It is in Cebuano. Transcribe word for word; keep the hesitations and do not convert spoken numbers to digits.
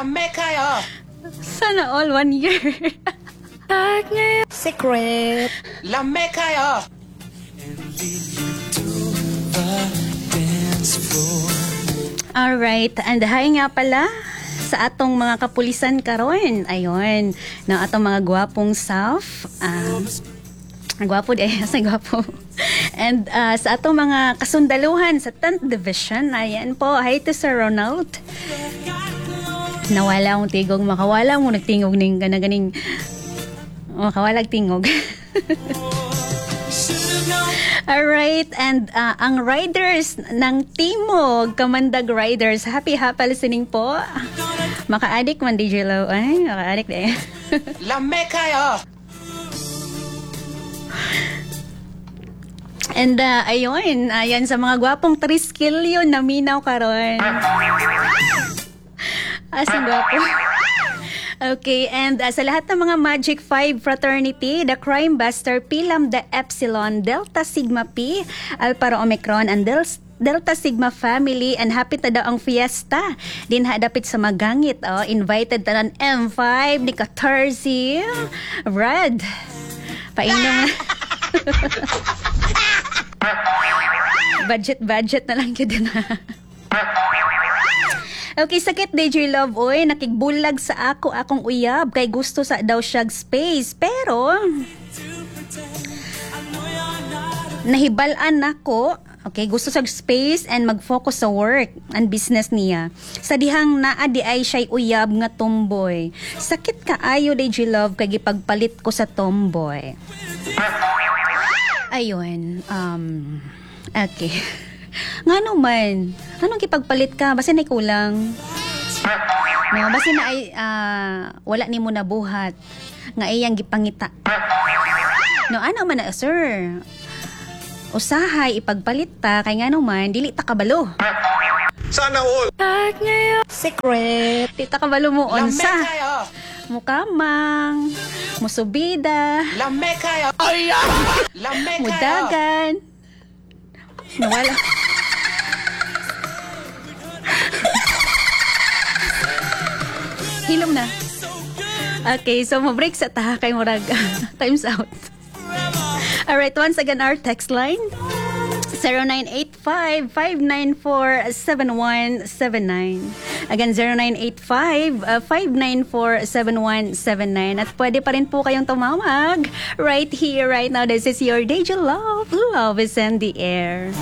Lame kayo. Sana all one year. Secret. Lame kayo. Alright, and hi nga pala sa atong mga kapulisan karon. Ayun, na atong mga gwapong staff. Um, gwapo di sa gwapo. And uh, sa atong mga kasundaluhan sa tenth Division, ayan po. Hi to Sir Ronald. Nawala akong tigog, makawala mo nagtingog ning gana ganing makawalag tingog. Alright, and uh, ang riders ng Timog, Kamandag Riders, happy happy listening po. Maka-addict man D J Lo. Ay, maka-addict eh. Lame kayo. And uh, ayun, ayan sa mga gwapong triskilyo na minaw karon. Asang gwapo. Okay, and uh, sa lahat ng mga Magic five Fraternity, the Crime Buster, P Lambda Epsilon, Delta Sigma P, Alpha Rho Omicron, and Del Delta Sigma Family, and happy ta daw ang fiesta. Din hadapit sa magangit, oh, invited tanan M five ni Katarsi. Brad, painom. Budget, budget na lang yun din ha. Okay, sakit D J Love, oy, nakigbulag sa ako akong uyab kay gusto sa daw siyag space, pero nahibal-an nako. Okay, gusto sa space and mag-focus sa work and business niya. Sa dihang naa di ay siya'y uyab nga tomboy. Sakit kaayo D J Love kay gipagpalit ko sa tomboy. Ayun, um, okay. Ngano man, anong gipagpalit ka? Basta na kulang. No, basta na ay uh, wala nimo nabuhat nga iyang gipangita. No, ano man na, sir? Usahay ipagpalit ta kay ngano man dili ta kabalo. Sana all. Secret. Di ta kabalo mo Lame unsa. kayo. Mukamang, musubida, Lame kayo. Lame kayo. mudagan. Nawala. Hilom na. Okay, so mo-break sa ta kay murag time's out. Alright, once again our text line zero nine eight five, five nine four, seven one seven nine. Again, zero nine eight five, five nine four, seven one seven nine. At pwede pa rin po kayong tumawag right here, right now. This is your D J Love. Love is in the air.